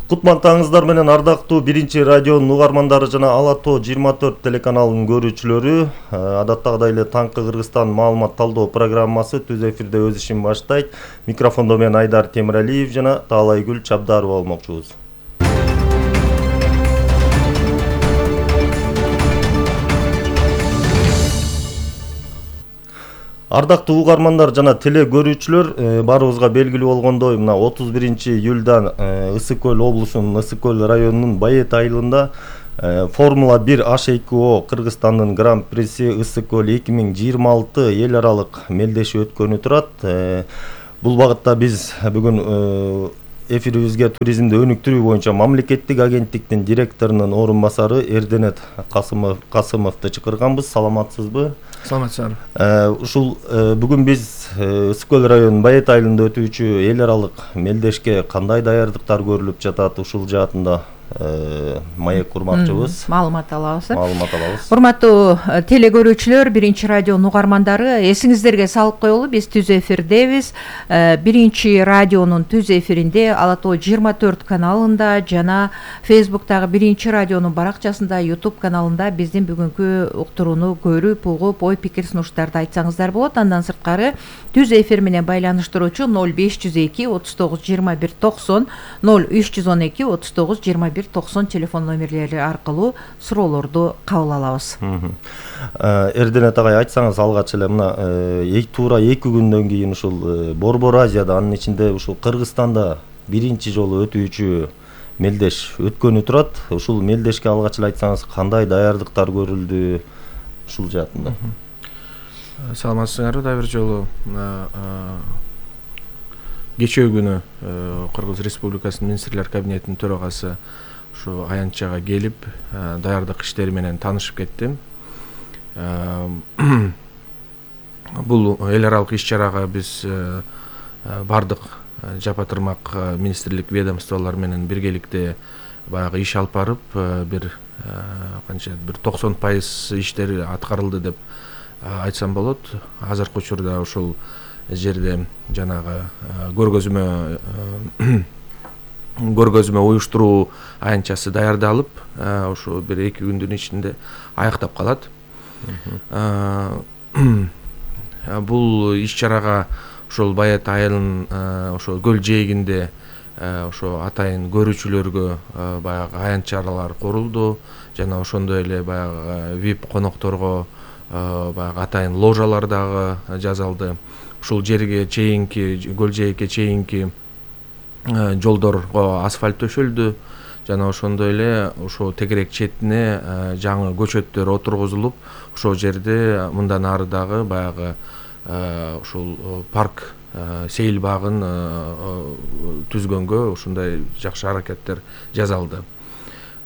Кутмантаңыздар менен ардактуу биринчи радионун угармандары жана Ала Тоо 24 телеканалынын көрүүчүлөрү. Адаттагыдай эле таңкы Кыргызстан маалымат талдоо программасы түз эфирде өз ишин баштайт. Микрофондо мен Айдар Темиралиев жана Таалайгүл Чабдарова болмокчубуз. Ардактуу угармандар жана теле көрүүчүлөр, баарыбызга белгилүү болгондой, мына 31-июлдан Ысык Көл облусунун Ысык Көл районунун Байет айылында Формула 1 H2O Кыргызстандын гран-приси Ысык Көл 2026 эл аралык мелдеши өткөнү турат. Бул багытта биз бүгүн эфирибизге туризмди өнүктүрүү боюнча мамлекеттик агенттиктин директорунун орун басары Эрденет Касымовду чакырганбыз. Саламатсызбы? Саламатсыздар. Ушул бүгүн биз Ысык Көл районунун Байет айылында өтүүчү эл аралык мелдешке кандай даярдыктар көрүлүп жатат, ушул жаатында маек курмакчыбыз. Маалымат алабыз. Урматтуу теле көрүүчүлөр, биринчи радионун угармандары, эсиңиздерге салып коелу, биз түз эфирдебиз. Биринчи радионун түз эфиринде Ала Тоо 24 каналында жана Facebook'тагы биринчи радионун баракчасында, YouTube каналында биздин бүгүнкү уктурууну көрүп, угуп, ой пикир сунуштарды айтсаңыздар болот. Андан сырткары түз эфир менен байланыштыруучу 0502 39 21 90 0312 39 21 90 телефон номерлери аркылуу суроолорду кабыл алабыз. Эрденет агай, айтсаңыз алгач эле мына туура 2 күндөн кийин ушул Борбор Азияда, анын ичинде ушул Кыргызстанда биринчи жолу өтүүчү мелдеш өткөнү турат. Ушул мелдешке алгач эле айтсаңыз кандай даярдыктар көрүлдү ушул жаатында? Саламатсыздарбы? Дагы бир жолу кечээ күнү Кыргыз Республикасынын министрлер кабинетинин төрагасы ушу аянтчага келип, даярдык иштери менен таанышып кеттим. Бул эл аралык иш-чарага биз бардык жапа-тырмак министрлик ведомстволор менен биргеликте баягы иш алып барып, бир 90% иштери аткарылды деп айтсам болот. Азыркы учурда ушул жерде жанагы көргөзмө уюштуруу аянтчасы даярдалып, ушу бир 2 күндүн ичинде аяктап калат. Бул иш-чарага ошол Байет айылынын ошо көл жээгинде ошо атайын көрүүчүлөргө баягы аянтчалар курулду, жана ошондой эле баягы VIP конокторго баягы атайын ложалар дагы жасалды. Ушул жерге чейинки, көл жээкке чейинки жолдорго асфальт төшөлдү, жана ошондой эле ошо тегерек четине жаңы көчөттөр отургузулуп, ошол жерде мындан ары дагы баягы ушул парк сейил багын түзгөнгө ушундай жакшы аракеттер жасалды.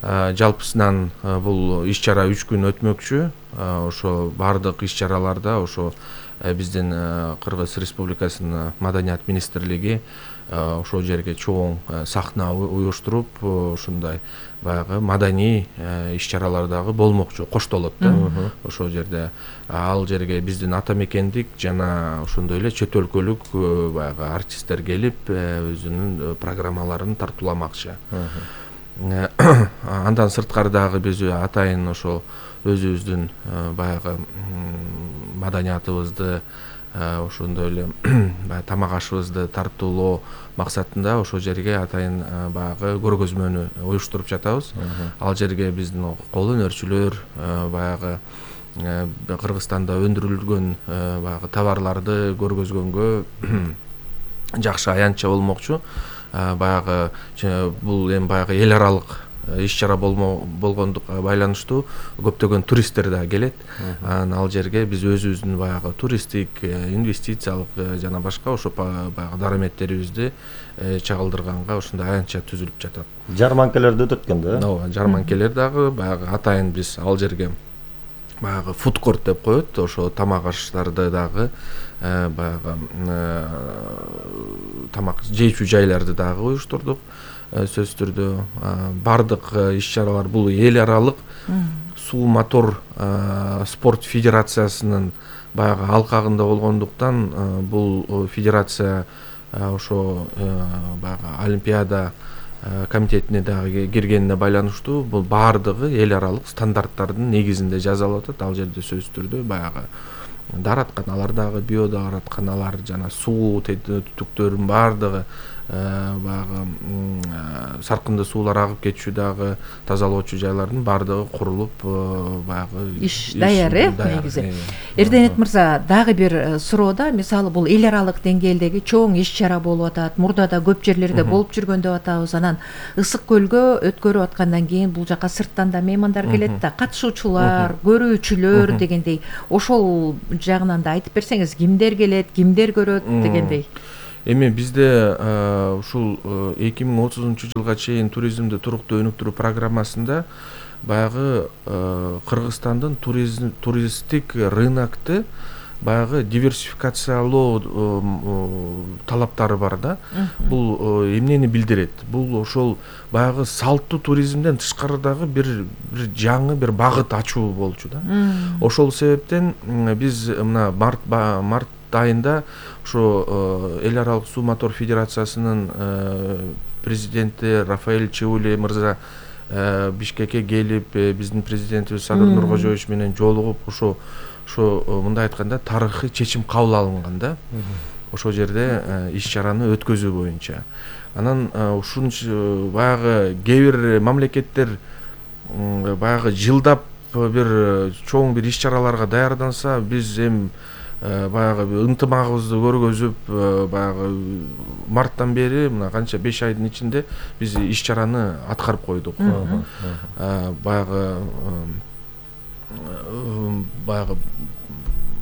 Жалпысынан бул иш-чара 3 күн өтмөкчү. Ошо бардык иш-чараларда ошо биздин Кыргыз Республикасынын Маданият министрлиги ошол жерге чоң сахна уюштуруп, ушундай баягы маданий иш-чаралар дагы болмокчу, коштолот да. Ошол жерде ал жерге биздин ата мекендик жана ошондой эле чет өлкөлүк баягы артисттер келип, өзүнүн программаларын тартууламакчы. Андан сырткары дагы биз атайын ошол өзүбүздүн баягы маданиятыбызды, ошондой эле тамак ашыбызды тартуулоо максатында ошол жерге атайын баягы көргөзмөнү уюштуруп жатабыз. Ал жерге биздин кол өнөрчүлөр баягы Кыргызстанда өндүрүлгөн баягы товарларды көргөзгөнгө жакшы аянтча болмокчу. Баягы бул эми баягы эл аралык иш-чара болгондукка байланыштуу көптөгөн туристтер да келет. Ал жерге биз өзүбүздүн баягы туристтик, инвестициялык жана башка ошо баягы дараметтерибизди чагылдырганга ушундай аянтча түзүлүп жатат. Жарманкелер да өтөт экен да? Ооба, жарманкелер дагы баягы атайын биз ал жерге баягы фудкорт деп коет, ошо тамак аштарды дагы баягы тамак жейчү жайларды дагы уюштурдук. Сөзсүз түрдө бардык иш-чаралар бул эл аралык суу мотор спорт федерациясынын баягы алкагында болгондуктан бул федерация ошо баягы олимпиада комитетине дагы киргенине байланыштуу бул баардыгы эл аралык стандарттардын негизинде жасалып атат. Ал жерде сөзсүз түрдө баягы дааратканалар дагы, био дааратканалар жана суу түтүктөрүнүн баардыгы, баягы саркынды суулар агып кетчү дагы тазалоочу жайлардын баардыгы курулуп, баягы иш даяр негизи. Эрденет мырза, дагы бир суроо да, мисалы бул эл аралык деңгээлдеги чоң иш чара болуп атат, мурда да көп жерлерде болуп жүргөн деп атабыз. Анан Ысык көлгө өткөрүп аткандан кийин бул жака сырттан да меймандар келет да, катышуучулар, көрүүчүлөр дегендей, ошол жагынан да айтып берсеңиз, кимдер келет, кимдер көрөт дегендей. Эми бизде ушул 2030-жылга чейин туризмди туруктуу өнүктүрүү программасында баягы Кыргызстандын туристтик рынокты баягы диверсификациялоо талаптары бар да. Бул эмнени билдирет? Бул ошол баягы салттуу туризмден тышкарыдагы бир жаңы бир багыт ачуу болчу да. Ошол себептен биз мына март айында ошо эл аралык суу мотор федерациясынын президенти Рафаэль Чеуле мырза Бишкекке келип, биздин президентибиз Садыр Нуркожоевич менен жолугуп, ошо мындай айтканда тарыхый чечим кабыл алынган да. Ошол жерде иш чараны өткөзүү боюнча. Анан ушунчу баягы кээ бир мамлекеттер баягы жылдап бир чоң бир иш чараларга даярданса, биз баягы ынтымагыбызды көргөзүп, баягы марттан бери мына канча 5 айдын ичинде биз иш чараны аткарып койдук. Баягы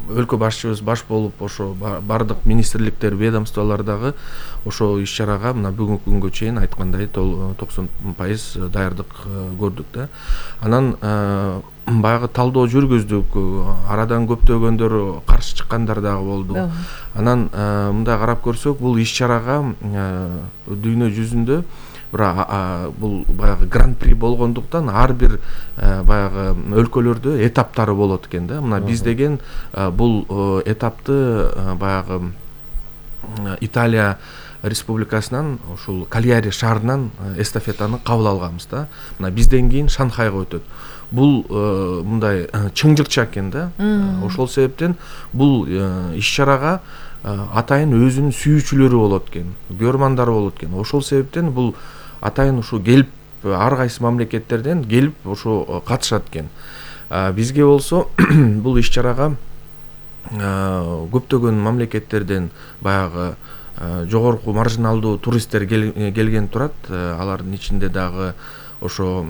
өлкө башчыбыз баш болуп, ошо бардык министрликтер, ведомстволордогу ошо иш чарага мына бүгүнкү күнгө чейин айткандай 90% даярдык көрдүк да. Анан баягы талдоо жүргүздүк, арадан көптөгөндөр каршы чыккандар дагы болду. Анан мындай карап көрсөк, бул иш чарага дүйнө жүзүндө бул баягы гран-при болгондуктан ар бир баягы өлкөлөрдө этаптары болот экен да. Мына биз деген бул этапты баягы Италия республикасынан, ушул Кальяри шаарынан эстафетаны кабыл алганбыз да. Мына бизден кийин Шанхайга өтөт. Бул мындай чыңжыкча экен да. Ошол себептен бул иш чарага атайын өзүнүн сүйүүчүлөрү болот экен, көрмандары болот экен. Ошол себептен бул атайын ушу келип, ар кайсы мамлекеттерден келип ошо катышат экен. Бизге болсо бул иш чарага көптөгөн мамлекеттерден баягы жогорку маржиналдуу туристтер келген турат. Алардын ичинде дагы ошо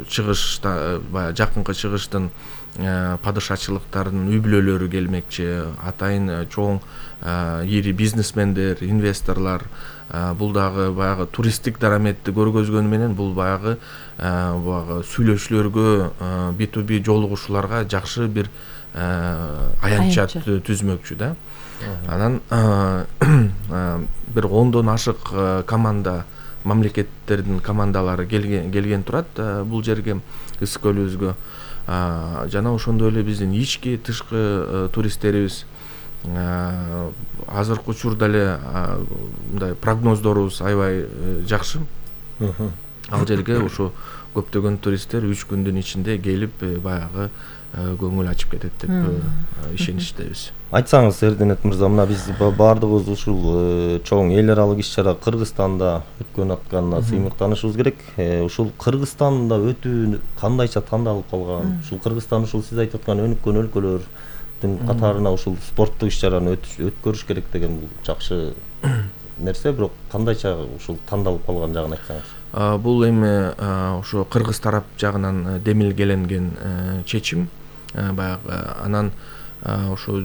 чыгышта, баягы жакынкы чыгыштын падышачылыктарынын үй бүлөлөрү келмекчи, атайын чоң ири бизнесмендер, инвесторлор. Бул дагы баягы туристтик дараметти көргөзгөнү менен бул баягы сүйлөшүүлөргө, B2B жолугушууларга жакшы бир аянтча түзмөкчү да. Анан бир 10дон ашык команда, мамлекеттердин командалары келген турат бул жерге, Ысык көлүбүзгө. Жана ошондой эле биздин ички, тышкы туристтерибиз азыркы учурда эле мындай прогноздорубуз аябай жакшы. Ал жерге ошо көптөгөн туристтер 3 күндүн ичинде келип, баягы көңүл ачып кетет деп ишеничтебиз. Айтсаңыз, Эрденет мырза, мына биз баардыгыбыз ушул чоң эл аралык иш чара Кыргызстанда өткөн атканына сыймыктанышыбыз керек. Ушул Кыргызстанда өтүү кандайча тандалып калган? Ушул Кыргызстан ушул сиз айтып аткан өнүккөн өлкөлөрдүн катарына ушул спорттук иш чараны өткөрүш керек деген бул жакшы нерсе, бирок кандайча ушул тандалып калган жагын айтсаңыз. Бул эми ошо кыргыз тарап жагынан демилгеленген чечим. Баягы анан ошо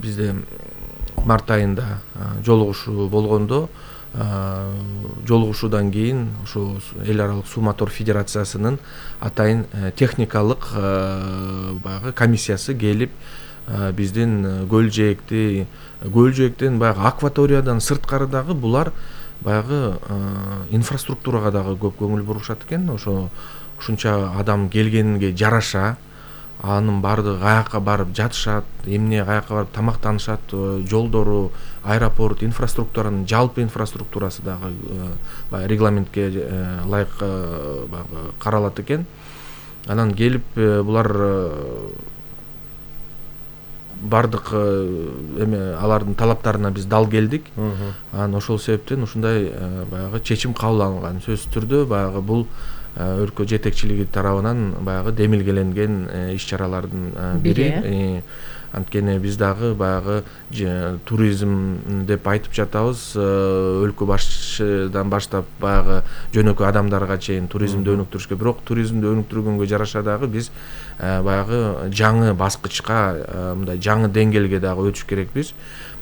бизде март айында жолугушуу болгондо, жолугушуудан кийин ошо эл аралык суу мотор федерациясынын атайын техникалык баягы комиссиясы келип, биздин көл жээктен баягы акваториядан сырткарыдагы булар баягы инфраструктурага дагы көп көңүл бурушат экен. Ошо ушунча адам келгенге жараша анын баардыгы каяка барып жатышат, эмне каяка барып тамактанышат, жолдору, аэропорт, инфраструктуранын жалпы инфраструктурасы дагы баягы регламентке ылайык баягы каралат экен. Анан келип булар бардык алардын талаптарына биз дал келдик. Анан ошол себептен ушундай баягы чечим кабыл алынган. Сөзсүз түрдө баягы бул өлкө жетекчилиги тарабынан баягы демилгеленген иш-чаралардын бири. Анткени биз дагы баягы туризм деп айтып жатабыз, өлкө башчыдан баштап баягы жөнөкөй адамдарга чейин туризмди өнүктүрүшкө, бирок туризмди өнүктүргөнгө жараша дагы биз баягы жаңы баскычка, мындай жаңы деңгээлге дагы өтүш керекпиз.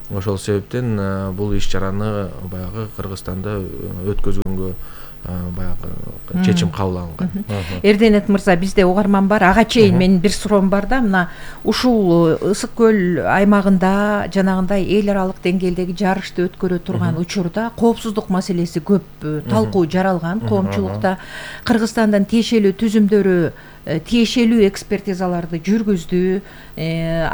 Ошол себептен бул иш-чараны баягы Кыргызстанда өткөзгөнгө баягы чечим кабыл алынган. Эрденет мырза, бизде угарман бар. Ага чейин менин бир суроом бар да, мына ушул Ысык көл аймагында жанагындай эл аралык деңгээлдеги жарышты өткөрө турган учурда коопсуздук маселеси көп талкуу жаралган. Коомчулукта Кыргызстандын тиешелүү түзүмдөрү тиешелүү экспертизаларды жүргүздү,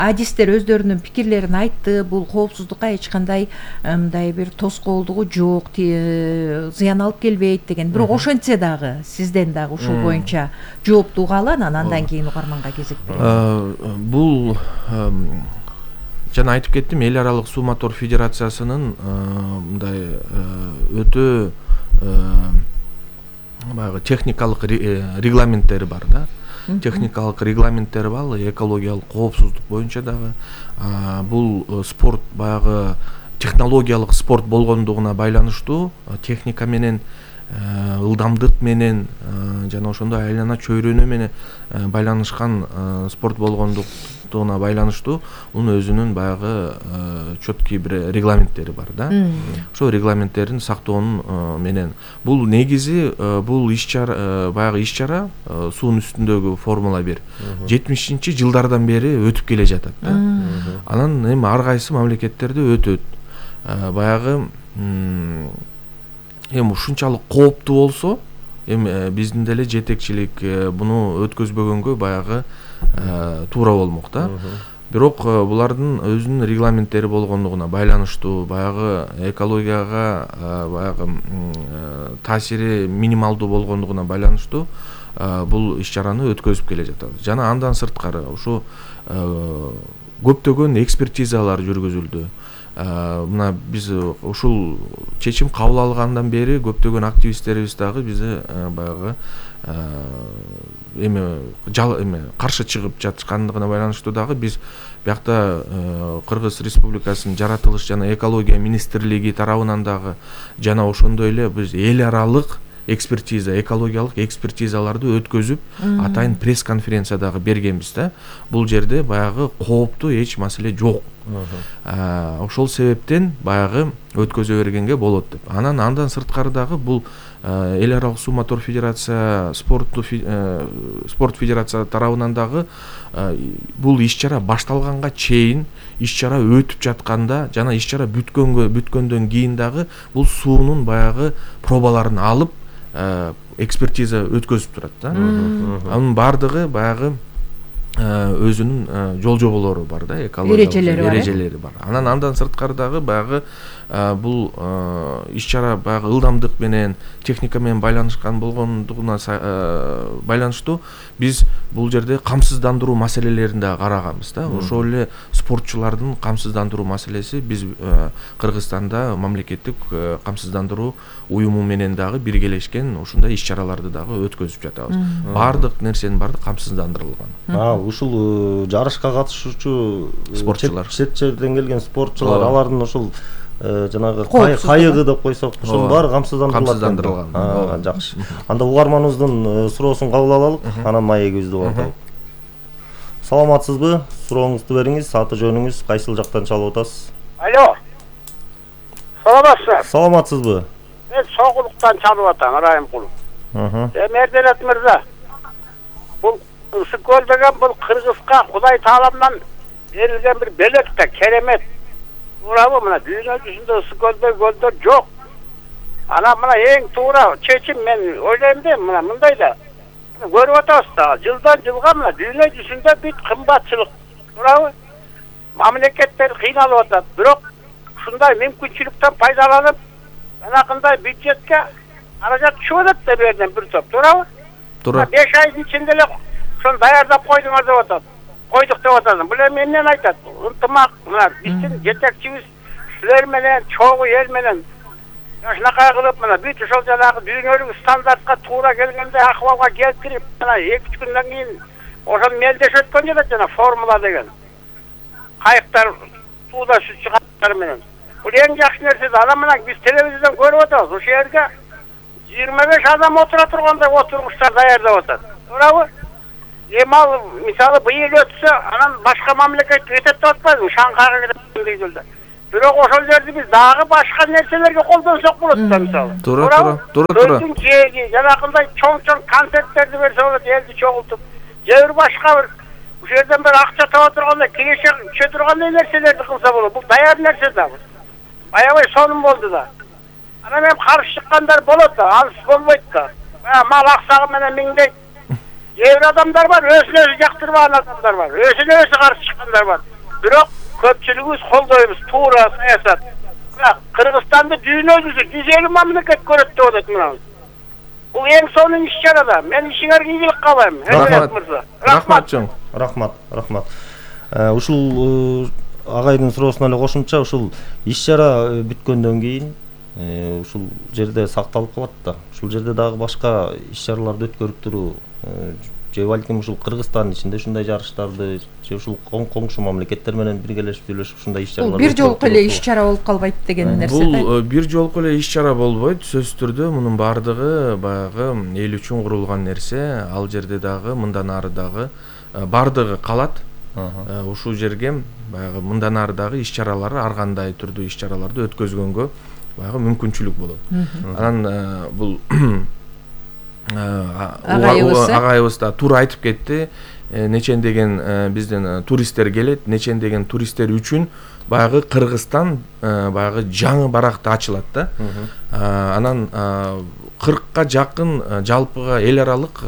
адистер өздөрүнүн пикирлерин айтты. Бул коопсуздукка эч кандай мындай бир тоскоолдугу жок, зыян алып келбейт деген. Бирок ошентсе дагы сизден дагы ушул боюнча жоопту угалы, анан кийин угарманга кезек беребиз. Бул жана айтып кеттим, эл аралык суу мотор федерациясынын мындай өтө баягы техникалык регламенттери бар да. Техникалык регламенттери бар, экологиялык коопсуздук боюнча дагы. Бул спорт баягы технологиялык спорт болгондугуна байланыштуу, техника менен, ылдамдык менен жана ошондой айлана чөйрөнү менен байланышкан спорт болгондугуна байланыштуу унун өзүнүн баягы чөткүй бир регламенттери бар да. Ошол регламенттерин сактоонун менен бул негизи бул иш-чара баягы иш-чара суунун үстүндөгү Формула 1 70-жылдардан бери өтүп келе жатат да. Анан эми ар кайсы мамлекеттерде өтөт. Баягы эми ушунчалык кооптуу болсо, эми биздин деле жетекчилик буну өткөзбөгөнгө баягы туура болмок да. Бирок булардын өзүнүн регламенттери болгондугуна байланыштуу, баягы экологияга баягы таасири минималдуу болгондугуна байланыштуу бул иш-чараны өткөзүп келе жатабыз. Жана андан сырткары ушу көптөгөн экспертизалар жүргүзүлдү. Мына биз ушул чечим кабыл алгандан бери көптөгөн активисттерибиз дагы бизди баягы эми каршы чыгып жаткандыгына байланыштуу дагы биз биякта Кыргыз Республикасынын жаратылыш жана экология министрлиги тарабынан дагы жана ошондой эле биз эл аралык экспертиза, экологиялык экспертизаларды өткөзүп, атайын пресс-конференция дагы бергенбиз да. Бул жерде баягы кооптуу эч маселе жок. Ошол себептен баягы өткөзө бергенге болот деп. Андан сырткары дагы бул эл аралык суу мотор федерация спорт федерация тарабынан дагы бул иш-чара башталганга чейин иш-чара өтүп жатканда жана иш-чара бүткөндөн кийин дагы бул суунун баягы пробаларын алып экспертиза өткөзүп турат да. Анын баардыгы баягы өзүнүн жол жоболору бар да, экологиялык эрежелери бар. Андан сырткары дагы баягы бул иш-чара баягы ылдамдык менен, техника менен байланышкан болгондугуна байланыштуу биз бул жерде камсыздандыруу маселелерин да караганбыз да. Ошол эле спортчулардын камсыздандыруу маселеси биз Кыргызстанда мамлекеттик камсыздандыруу уюму менен дагы биргелешкен ушундай иш-чараларды дагы өткөзүп жатабыз. Баардык нерсенин баардыгы камсыздандырылган. Ушул жарышка катышуучу спортчулар, чет жерден келген спортчулар, алардын ушул жанагы кайыгы деп койсок, ушунун баары камсыздандырылган. Жакшы. Анда угарманыбыздын суроосун кабыл алалык, анан маегибизди улантайлык. Саламатсызбы? Сурооңузду бериңиз, аты жөнүңүз, кайсыл жактан чалып атасыз? Алло. Саламатсызбы? Саламатсызбы? Мен Согулуктан чалып атам, Райымкулов. Эрденет мырза. Бул Ысык көл деген бул Кыргызга Кудай Тааламдан берилген бир белек да, керемет. Туурабы, мына дүйнө жүзүндө Ысык көлдөр жок. Анан мына эң туура чечим мен ойлойм да, мына мындай да. көрүп атабыз да. Жылдан жылга мына дүйнө жүзүндө бүт кымбатчылык туурабы? Мамлекеттер кыйналып атат. Бирок ушундай мүмкүнчүлүктөн пайдаланып, жанакындай бюджетке каражат түшүп атат да берден бир топ, туурабы? Туура. 5 айдын ичинде эле ошону даярдап койдуңар деп атат. Койдук деп атат. Бул эми эмнени айтат? Ынтымак, мына биздин жетекчибиз силер менен, чогуу эл менен жашынакай кылып, мына бүт ошол жанагы дүйнөлүк стандартка туура келгенде акыбалга келип кирип, мына 2-3 күндөн кийин ошону мелдешип өткөн жатат жана формула деген. Кайыктар сууда сүзчү кайыктар менен. Бул эң жакшы нерсе да. Анан мына биз телевизордон көрүп атабыз. Ошол жерге 25 адам отура тургандай отургучтар даярдап атат. Туурабы? Эми ал мисалы быйыл өтсө, анан башка мамлекетке кетет деп атпайбы? Шанхайга кетет дейдилер. Бирок ошол жерди биз дагы башка нерселерге колдонсок болот да мисалы. Туура. Көздүн кээги, жанакындай чоң концерттерди берсе болот, элди чогултуп. Же бир башка бир ушул жерден бир акча таба тургандай, киреше түшө тургандай нерселерди кылса болот. Бул даяр нерсе да. Аябай сонун болду да. Анан эми каршы чыккандар болот да, анысы болбойт да. Мал аксагы менен миңдейт. Кээ бир адамдар бар, өзүн өзү жактырбаган адамдар бар, өзүн өзү каршы чыккандар бар. Бирок көпчүлүгүбүз колдойбуз туура саясат. Кыргызстанды дүйнө жүзү 150 мамлекет көрөт деп атат мына. Бул эң сонун иш-чара да. Мен ишиңерге ийгилик каалайм. Рахмат чоң. Рахмат. Ушул агайдын суроосуна эле кошумча, ушул иш-чара бүткөндөн кийин ушул жерде сакталып калат да. Ушул жерде дагы башка иш-чараларды өткөрүп туруу, же балким ушул Кыргызстандын ичинде ушундай жарыштарды, же ушул коңшу мамлекеттер менен биргелешип сүйлөшүп ушундай иш-чараларды. Бул бир жолку эле иш-чара болуп калбайт деген нерсе да. Бул бир жолку эле иш-чара болбойт. Сөзсүз түрдө мунун баардыгы баягы эл үчүн курулган нерсе. Ал жерде дагы мындан ары дагы баардыгы калат. Ушул жерге баягы мындан ары дагы иш-чаралары, ар кандай түрдүү иш-чараларды өткөзгөнгө баягы мүмкүнчүлүк болот. Анан бул агайыбыз да туура айтып кетти. Нечендеген биздин туристтер келет, нечендеген туристтер үчүн баягы Кыргызстан баягы жаңы баракта ачылат да. Анан 40ка жакын жалпыга эл аралык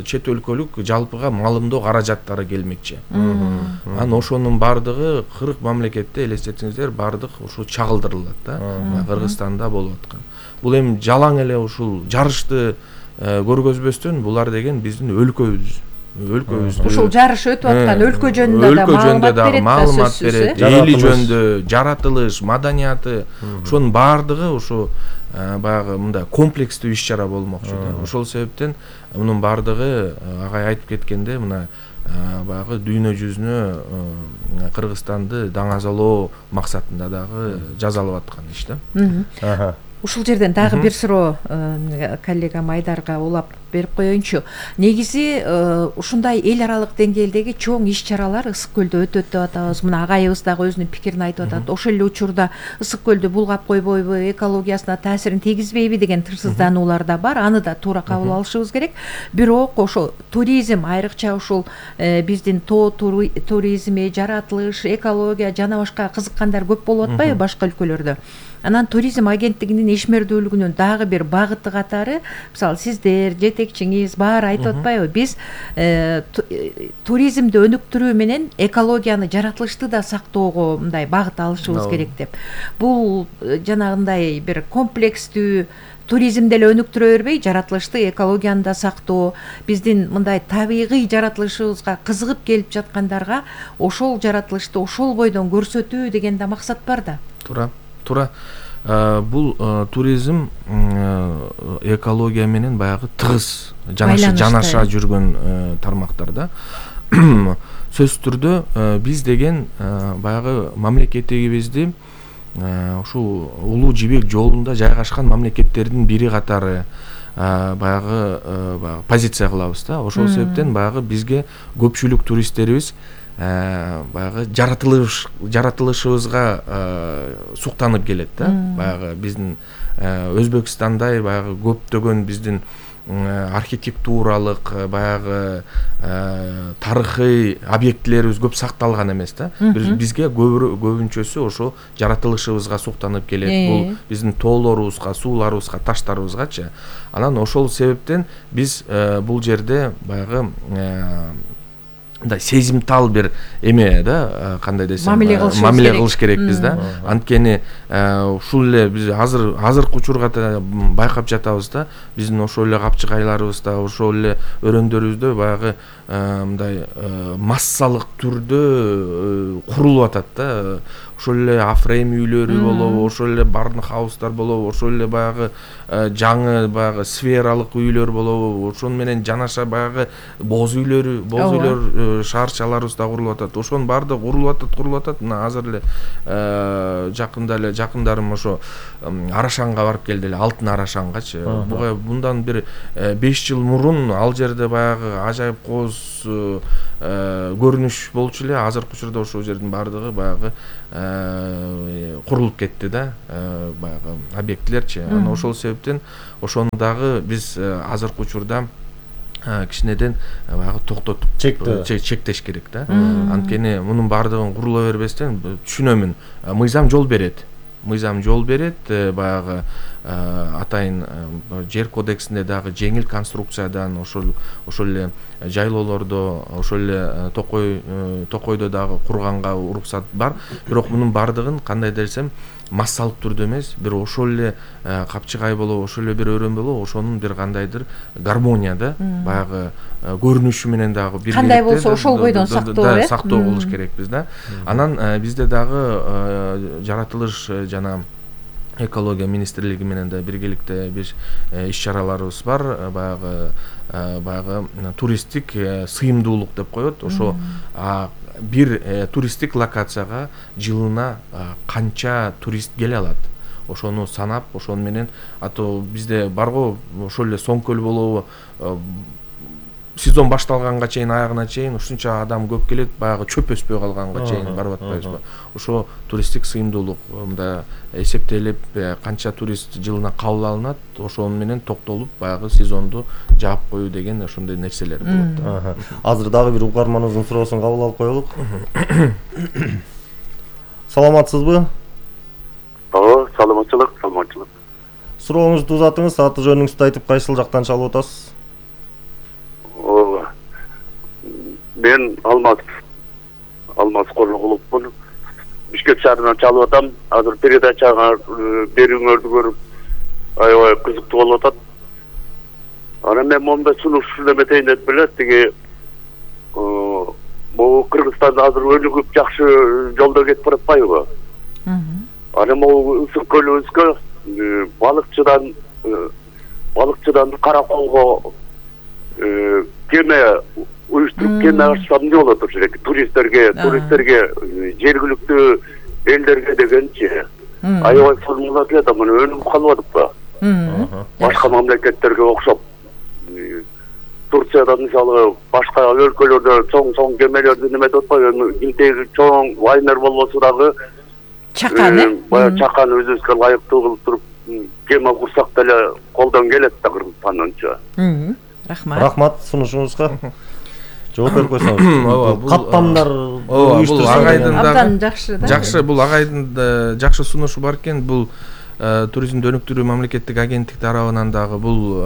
чет өлкөлүк жалпыга малымдоо каражаттары келмекчи. Анан ошонун баардыгы 40 мамлекетте элестетиңиздер, баардык ушул чагылдырылат да. Кыргызстанда болуп аткан. Бул эми жалаң эле ушул жарышты көргөзбөстөн булар деген биздин өлкөбүздү ушул жарыш өтүп аткан өлкө жөнүндө да маалымат берет, эли жөнүндө, жаратылыш, маданияты, ошонун баардыгы ушу баягы мындай комплекстүү иш-чара болмокчу да. Ошол себептен мунун баардыгы агай айтып кеткенде мына баягы дүйнө жүзүнө Кыргызстанды даңазалоо максатында дагы жасалып аткан иш да. Ушул жерден дагы бир суроо коллегам Айдарга улап берип коеюнчу. Негизи ушундай эл аралык деңгээлдеги чоң иш-чаралар Ысык көлдө өтөт деп атабыз. Мына агайыбыз дагы өзүнүн пикирин айтып атат. Ошол эле учурда Ысык көлдү булгап койбойбу, экологиясына таасирин тийгизбейби деген тырсыздануулар да бар. Аны да туура кабыл алышыбыз керек. Бирок ошо туризм, айрыкча ушул биздин тоо туризми, жаратылыш, экология жана башка кызыккандар көп болуп атпайбы башка өлкөлөрдө? Анан туризм агенттигинин ишмердүүлүгүнүн дагы бир багыты катары, мисалы сиздер, жетекчиңиз баары айтып атпайбы? Биз туризмди өнүктүрүү менен экологияны, жаратылышты да сактоого мындай багыт алышыбыз керек деп. Бул жанагындай бир комплекстүү туризмди эле өнүктүрө бербей, жаратылышты, экологияны да сактоо, биздин мындай табигый жаратылышыбызга кызыгып келип жаткандарга ошол жаратылышты ошол бойдон көрсөтүү деген да максат бар да. Туура. Бул туризм экология менен баягы тыгыз жанаша жүргөн тармактар да. Сөзсүз түрдө биз деген баягы мамлекетибизди ушул улуу жибек жолунда жайгашкан мамлекеттердин бири катары баягы позиция кылабыз да. Ошол себептен баягы бизге көпчүлүк туристтерибиз баягы жаратылышыбызга суктанып келет да. Баягы биздин Өзбекстандай баягы көптөгөн биздин архитектуралык баягы тарыхый объектилерибиз көп сакталган эмес да. Бизге көбүнчөсү ошо жаратылышыбызга суктанып келет. Бул биздин тоолорубузга, сууларыбызга, таштарыбызгачы. Анан ошол себептен биз бул жерде баягы мындай сезимтал бир эме да, кандай десем, мамиле кылыш керекпиз да. Анткени ушул эле биз азыркы учурга байкап жатабыз да, биздин ошол эле капчыгайларыбызда, ошол эле өрөөндөрүбүздө баягы мындай массалык түрдө курулуп атат да. Ошол эле афрейм үйлөрү болобу, ошол эле барнхаустар болобу, ошол эле баягы жаңы баягы сфералык үйлөр болобу, ошону менен жанаша баягы боз үйлөр шаарчаларыбыз да курулуп атат. Ошонун баардыгы курулуп атат. Мына азыр эле жакындарым ошо Арашанга барып келди эле, Алтын Арашангачы. Буга мындан бир 5 жыл мурун ал жерде баягы ажайып кооз көрүнүш болчу эле. Азыркы учурда ошол жердин баардыгы баягы курулуп кетти да, баягы объектилерчи. Анан ошол себептен ошону дагы биз азыркы учурда кичинеден баягы токтотуп чектеш керек да. Анткени мунун баардыгын курула бербестен, түшүнөмүн, мыйзам жол берет, баягы атайын жер кодексинде дагы жеңил конструкциядан ошол эле жайлоолордо, ошол эле токойдо дагы курганга уруксат бар. Бирок мунун баардыгын кандай десем массалык түрдө эмес, бир ошол эле капчыгай болобу, ошол эле бир өрөөн болобу, ошонун бир кандайдыр гармонияда баягы көрүнүшү менен дагы бир кандай болсо ошол бойдон сактоо кылыш керекпиз да. Анан бизде дагы жаратылыш жана экология министрлиги менен да биргеликте бир иш-чараларыбыз бар. Баягы туристтик сыйымдуулук деп коет. Ошо бир туристтик локацияга жылына канча турист келе алат, ошону санап, ошону менен бизде барго ошол эле Соң көл болобу, сезон башталганга чейин, аягына чейин ушунча адам көп келет, баягы чөп өспөй калганга чейин барып атпайбызбы? Ошо туристтик сыйымдуулук мында эсептелип, канча турист жылына кабыл алынат, ошону менен токтолуп баягы сезонду жаап коюу деген ошондой нерселер болот. Азыр дагы бир угарманыбыздын суроосун кабыл алып коелук. Саламатсызбы? Саламатчылык. Сурооңузду узатыңыз, аты жөнүңүздү айтып, кайсыл жактан чалып атасыз? Мен Алмаз Корногуловмун. Бишкек шаарынан чалып атам. Азыр передачага берүүңөрдү көрүп аябай кызыктуу болуп атат. Анан мен мондай сунуш эметейин деп эле, тиги могу Кыргызстанда азыр өнүгүп жакшы жолдо кетип баратпайбы? Анан могу ысык көлүбүзгө балыкчыдан Караколго кеме уюштуруп кеме ачсам эмне болот ошол жерге туристтерге жергиликтүү элдерге дегенчи аябай формула келет, мына өнүгүп калып атыппы? Башка мамлекеттерге окшоп, Турцияда мисалы башка өлкөлөрдө чоң кемелерди неметип атпайбы? Илдеги чоң лайнер болбосо дагы баягы чакан өзүбүзгө ылайыктуу кылып туруп кеме курсак деле колдон келет да Кыргызстанданчы. Рахмат сунушуңузга. Жооп берип койсоңуз. Каттамдар бул агайдын жакшы да. Жакшы, бул агайдын жакшы сунушу бар экен. Бул туризмди өнүктүрүү мамлекеттик агенттик тарабынан дагы бул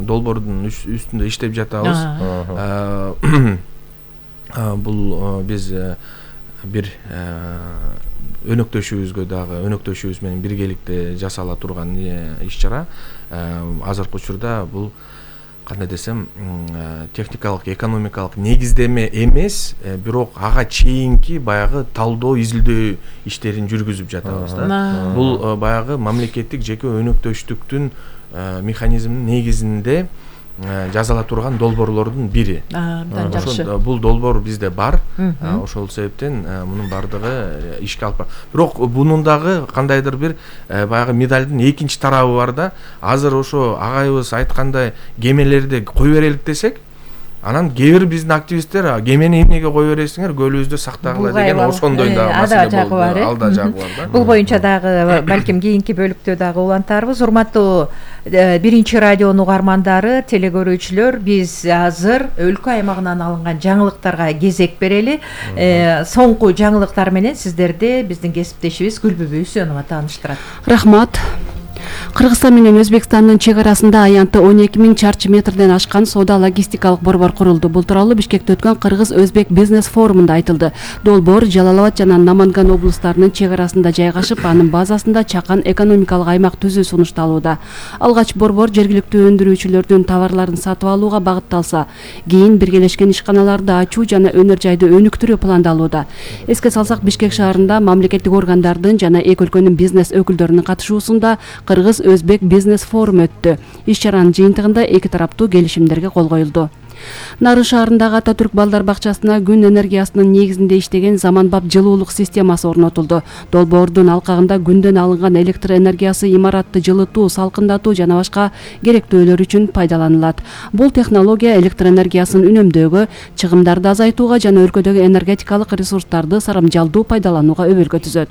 долбоордун үстүндө иштеп жатабыз. Бул биз бир өнөктөшүбүз менен биргеликте жасала турган иш-чара. Азыркы учурда бул кандай десем, техникалык, экономикалык негиздеме эмес, бирок ага чейинки баягы талдоо, изилдөө иштерин жүргүзүп жатабыз да. Бул баягы мамлекеттик жеке өнөктөштүктүн механизминин негизинде жазала турган долбоорлордун бири. Бул долбоор бизде бар. Ошол себептен мунун баардыгы ишке алып. Бирок бунун дагы кандайдыр бир баягы медалдын экинчи тарабы бар да. Азыр ошо агайыбыз айткандай кемелерди кой берелик десек, Анан кээ бир биздин активисттер кемени эмнеге кое бересиңер, көлүбүздү сактагыла деген ошондой дагы маселе болду. Ал да жагы бар да. Бул боюнча дагы балким кийинки бөлүктө дагы улантарбыз. Урматтуу биринчи радионун угармандары, телекөрүүчүлөр, биз азыр өлкө аймагынан алынган жаңылыктарга кезек берели. Соңку жаңылыктар менен сиздерди биздин кесиптешибиз Гүлбүбү Үсөнова тааныштырат. Рахмат. Кыргызстан менен Өзбекстандын чек арасында аянты 12.000 чарчы метрден ашкан соода логистикалык борбор курулду. Бул тууралуу Бишкекте өткөн Кыргыз-Өзбек бизнес форумунда айтылды. Долбоор Жалал Абад жана Наманган облустарынын чек арасында жайгашып, анын базасында чакан экономикалык аймак түзүү сунушталууда. Алгач борбор жергиликтүү өндүрүүчүлөрдүн товарларын сатып алууга багытталса, кийин биргелешкен ишканаларды ачуу жана өнөр жайды өнүктүрүү пландалууда. Эске салсак, Бишкек шаарында мамлекеттик органдардын жана эки өлкөнүн бизнес өкүлдөрүнүн катышуусунда Кыргыз-Өзбек бизнес форум өттү. Иш-чаранын жыйынтыгында эки тараптуу келишимдерге кол коюлду. Нарын шаарындагы Ататүрк балдар бакчасына күн энергиясынын негизинде иштеген заманбап жылуулук системасы орнотулду. Долбоордун алкагында күндөн алынган электр энергиясы имаратты жылытуу, салкындатуу жана башка керектөөлөр үчүн пайдаланылат. Бул технология электр энергиясын үнөмдөөгө, чыгымдарды азайтууга жана өлкөдөгү энергетикалык ресурстарды сарамжалдуу пайдаланууга өбөлгө түзөт.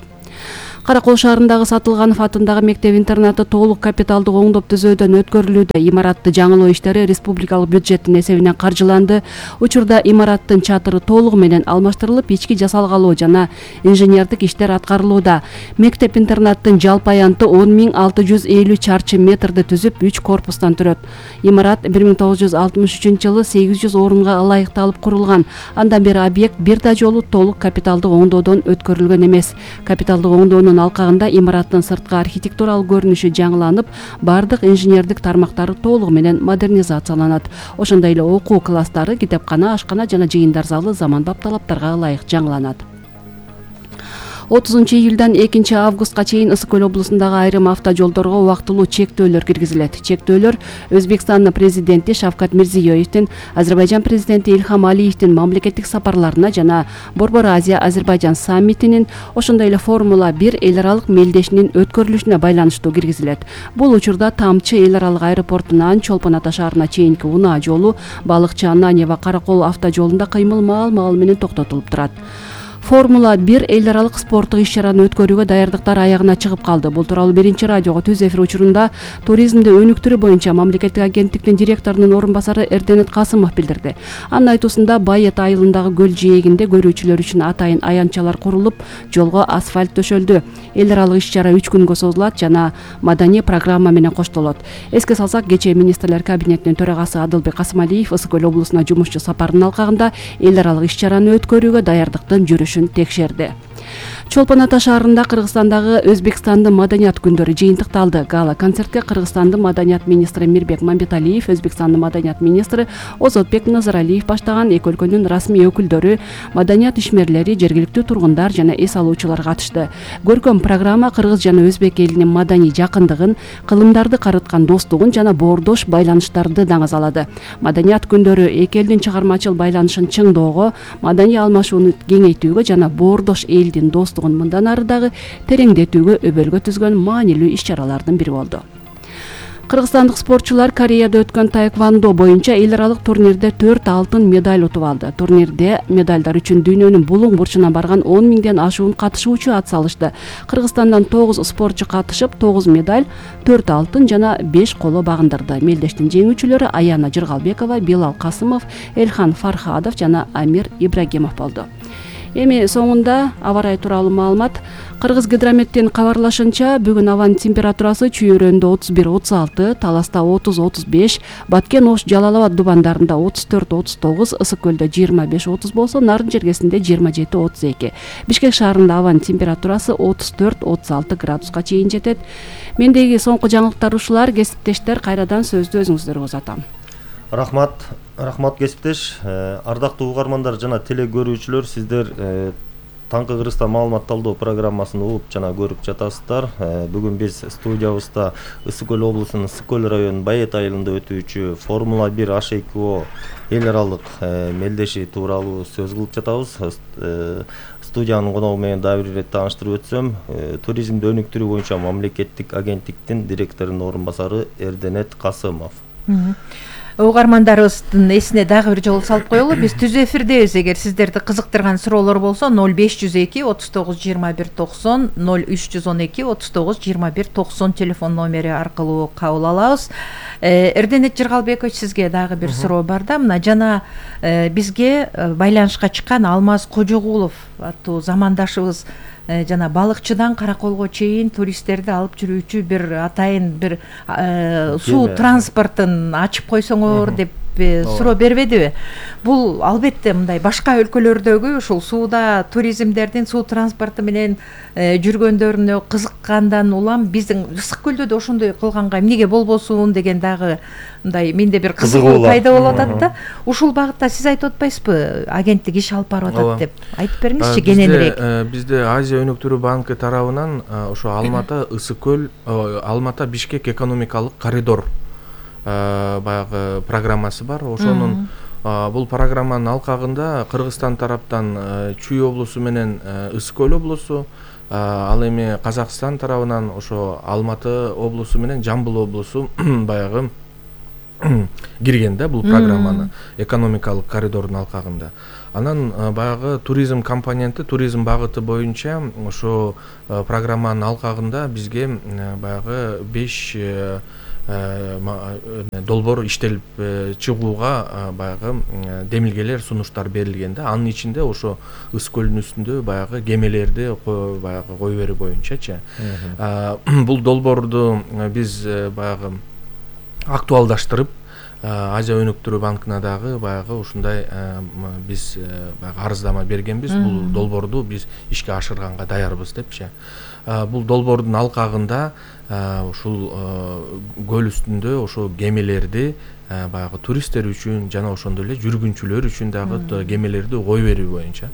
Каракол шаарындагы Сатылганов атындагы мектеп-интернаты толук капиталдык оңдоп түзөөдөн өткөрүлүүдө. Имаратты жаңылоо иштери республикалык бюджеттин эсебинен каржыланды. Учурда имараттын чатыры толугу менен алмаштырылып, ички жасалгалоо жана инженердик иштер аткарылууда. Мектеп-интернаттын жалпы аянты 10.650 чарчы метрди түзүп, 3 корпустан турат. Имарат 1963-жылы 800 орунга ылайыкталып курулган. Андан бери объект бир да жолу толук капиталдык оңдоодон өткөрүлгөн эмес. Капиталдык оңдоонун алкагында имараттын сырткы архитектуралык көрүнүшү жаңыланып, бардык инженердик тармактары толугу менен модернизацияланат. Ошондой эле окуу класстары, китепкана, ашкана жана жыйындар залы заманбап талаптарга ылайык жаңыланат. 30 июлдан 2 августка чейин Ысык Көл облусундагы айрым автожолдорго убактылуу чектөөлөр киргизилет. Чектөөлөр Өзбекстандын президенти Шавкат Мирзиёевдин, Азербайжан президенти Илхам Алиевдин мамлекеттик сапарларына жана Борбор Азия-Азербайжан саммитинин, ошондой эле Формула 1 эл аралык мелдешинин өткөрүлүшүнө байланыштуу киргизилет. Бул учурда Тамчы эл аралык аэропортунан Чолпон Ата шаарына чейинки унаа жолу, Балыкчы Ананьева Каракол автожолунда кыймыл маал менен токтотулуп турат. Формула 1 эл аралык спорттук иш-чараны өткөрүүгө даярдыктар аягына чыгып калды. Бул тууралуу биринчи радиого түз эфир учурунда туризмди өнүктүрүү боюнча мамлекеттик агенттиктин директорунун орун басары Эрденет Касымов билдирди. Анын айтуусунда Байет айылындагы көл жээгинде көрүүчүлөр үчүн атайын аянтчалар курулуп, жолго асфальт төшөлдү. Эл аралык иш-чара 3 күнгө созулат жана маданий программа менен коштолот. Эске салсак, кечээ министрлер кабинетинин төрагасы Адылбек Касымалиев Ысык Көл облусуна жумушчу сапарынын алкагында эл аралык иш-чараны өткөрүүгө даярдыктын жүрүшүн текшерди. Чолпон Ата шаарында Кыргызстандагы Өзбекстандын маданият күндөрү жыйынтыкталды. Гала концертке Кыргызстандын маданият министри Мирбек Мамбеталиев, Өзбекстандын маданият министри Озотбек Назаралиев баштаган эки өлкөнүн расмий өкүлдөрү, маданият ишмерлери, жергиликтүү тургундар жана эс алуучулар катышты. Көркөм программа кыргыз жана өзбек элинин маданий жакындыгын, кылымдарды карыткан достугун жана боордош байланыштарды даңазалады. Маданият күндөрү эки элдин чыгармачыл байланышын чыңдоого, маданий алмашууну кеңейтүүгө жана боордош элдин достугун мындан ары дагы тереңдетүүгө өбөлгө түзгөн маанилүү иш-чаралардын бири болду. Кыргызстандык спортчулар Кореяда өткөн таэквондо боюнча эл аралык турнирде 4 алтын медаль утуп алды. Турнирде медальдар үчүн дүйнөнүн булуң бурчуна барган 10 миңден ашуун катышуучу ат салышты. Кыргызстандан 9 спортчу катышып, 9 медаль, 4 алтын жана 5 коло багындырды. Мелдештин жеңүүчүлөрү Аяна Жыргалбекова, Билал Касымов, Элхан Фархадов жана Амир Ибрагимов болду. Эми соңунда аба ырайы тууралуу маалымат. Кыргыз гидрометтин кабарлашынча, бүгүн абанын температурасы Чүйөрөндө 31-36, Таласта 30-35, Баткен Ош Жалал Абад дубандарында 34-39, Ысык Көлдө 25-30 болсо, Нарын жергесинде 27-32. Бишкек шаарында абанын температурасы 34-36 градуска чейин жетет. Мендеги соңку жаңылыктар ушулар. Кесиптештер, кайрадан сөздү өзүңүздөргө узатам. Рахмат кесиптеш. Ардактуу угармандар жана телекөрүүчүлөр, сиздер Таңкы Кыргызстан маалымат талдоо программасын угуп жана көрүп жатасыздар. Бүгүн биз студиябызда Ысык Көл облусунун Ысык Көл районунун Байет айылында өтүүчү Формула 1 H2O эл аралык мелдеши тууралуу сөз кылып жатабыз. Студиянын коногу менен дагы бир ирет тааныштырып өтсөм, туризмди өнүктүрүү боюнча мамлекеттик агенттиктин директорунун орун басары Эрденет Касымов. Угармандарыбыздын эсине дагы бир жолу салып коелу. Биз түз эфирдебиз. Эгер сиздерди кызыктырган суроолор болсо 0502 39 21 90 0312 39 21 90 телефон номери аркылуу кабыл алабыз. Эрденет Жыргалбекович, сизге дагы бир суроо бар да. Мына жана бизге байланышка чыккан Алмаз Кожогулов аттуу замандашыбыз жана балыкчыдан караколго чейин туристтерди алып жүрүүчү бир атайын бир суу транспортун ачып койсоңор деп суроо бербедиби? Бул албетте мындай башка өлкөлөрдөгү ушул сууда туризмдердин, суу транспорту менен жүргөндөрүнө кызыккандан улам биздин Ысык көлдө да ошондой кылганга эмнеге болбосун деген дагы мындай менде бир кызыгуу пайда болуп атат да. Ушул багытта сиз айтып атпайсызбы, агенттик иш алып барып атат деп? Айтып бериңизчи кененирээк. Бизде Азия өнүктүрүү банкы тарабынан ошо Алмата Ысык көл, Алмата Бишкек экономикалык коридор баягы программасы бар. Ошонун бул программанын алкагында Кыргызстан тараптан Чүй облусу менен Ысык көл облусу, ал эми Казакстан тарабынан ошо Алматы облусу менен Жамбыл облусу баягы кирген да бул программаны экономикалык коридордун алкагында. Анан баягы туризм компоненти, туризм багыты боюнча ошо программанын алкагында бизге баягы 5 долбоор иштелип чыгууга баягы демилгелер, сунуштар берилген да. Анын ичинде ошо Ысык көлдүн үстүндө баягы кемелерди баягы кой берүү боюнчачы. Бул долбоорду биз баягы актуалдаштырып Азия өнүктүрүү банкына дагы баягы ушундай биз баягы арыздама бергенбиз. Бул долбоорду биз ишке ашырганга даярбыз депчи. Бул долбоордун алкагында ушул көл үстүндө ошо кемелерди баягы туристтер үчүн жана ошондой эле жүргүнчүлөр үчүн дагы кемелерди кой берүү боюнча.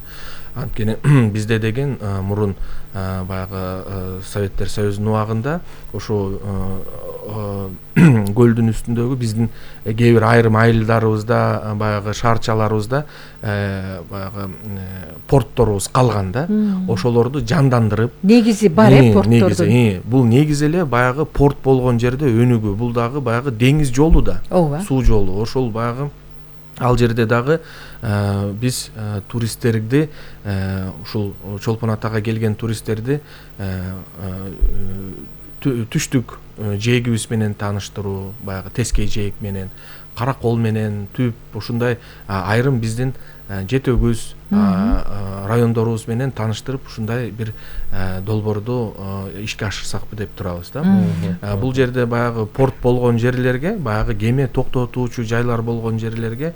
Анткени бизде деген мурун баягы Советтер Союзунун убагында ошо көлдүн үстүндөгү биздин кээ бир айрым айылдарыбызда баягы шаарчаларыбызда баягы портторубуз калган да. Ошолорду жандандырып, негизи бар порттордун. Бул негизи эле баягы порт болгон жерде өнүгүү. Бул дагы баягы деңиз жолу да, суу жолу. Ошол баягы ал жерде дагы биз туристтерди, ушул Чолпон Атага келген туристтерди түштүк жээгибиз менен тааныштыруу, баягы Тескей жээк менен, Каракол менен, Түп, ушундай айрым биздин Жети Өгүз райондорубуз менен тааныштырып, ушундай бир долбоорду ишке ашырсакпы деп турабыз да. Бул жерде баягы порт болгон жерлерге, баягы кеме токтотуучу жайлар болгон жерлерге